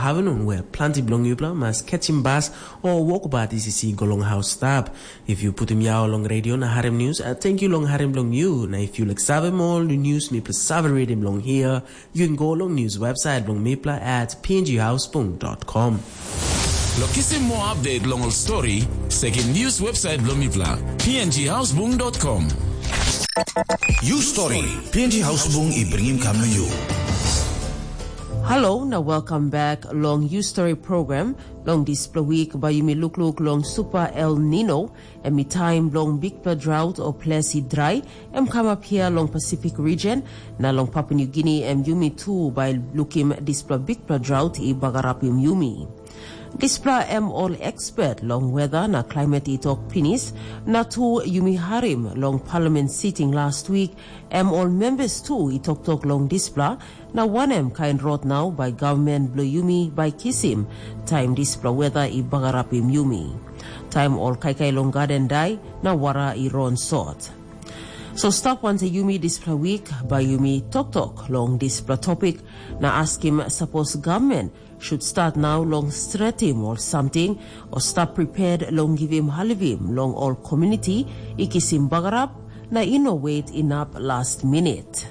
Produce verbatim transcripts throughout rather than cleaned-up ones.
Avenun wea planti bilong yupela mas ketsim bas o wokbat isi go long haus stap. If yu putim yau long radio na harim news, uh, thank you long harim bilong yu. Na if you like save more the news mipela save reading long here, you can go long news website bilong mipela at pnghouseboom.com. Lo kisim more update long ol story, sekim news website bilong mipela, pnghouseboom.com. You story, P N G Houseboom i bringim kam na you. Hello, na welcome back long You Story program. Long dispela week, by yumi lukluk long Super El Nino, em i taim bilong bikpela drought o ples i dry, em kamap hia long Pacific region, na long Papua New Guinea, em yumi tu by lukim dispela bikpela drought i bagarapim yumi. Dispela em ol expert long weather na climate i tok pinis, na tu yumi harim long parliament sitting last week, em ol members tu i toktok long dispela, na wanem kain rot nau bai government bilong yumi bai kisim, taim dispela weather i bagarapim yumi. Taim ol kaikai long garden dai, na wara i ron sot. So stap wantaim yumi dispela week, bai yumi toktok long dispela topic, na askim sapos government should start now long stretim or something, or stap prepared long givim halivim long ol community i kisim bagarap, na i no wet inap last minute.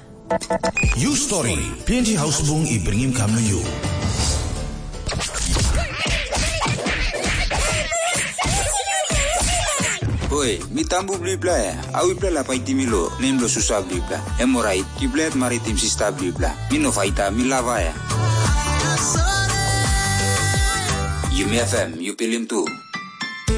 You story, P N G Houseboom i bringim kam na you. Oi, mi tambu bilipela ya. Au ipela la paitim mi lo, nem lo susa bilipela. Em orait, kipela maritim sista bilipela. Mi no faita, mi lava ya. Yumi F M, yu pilim tu.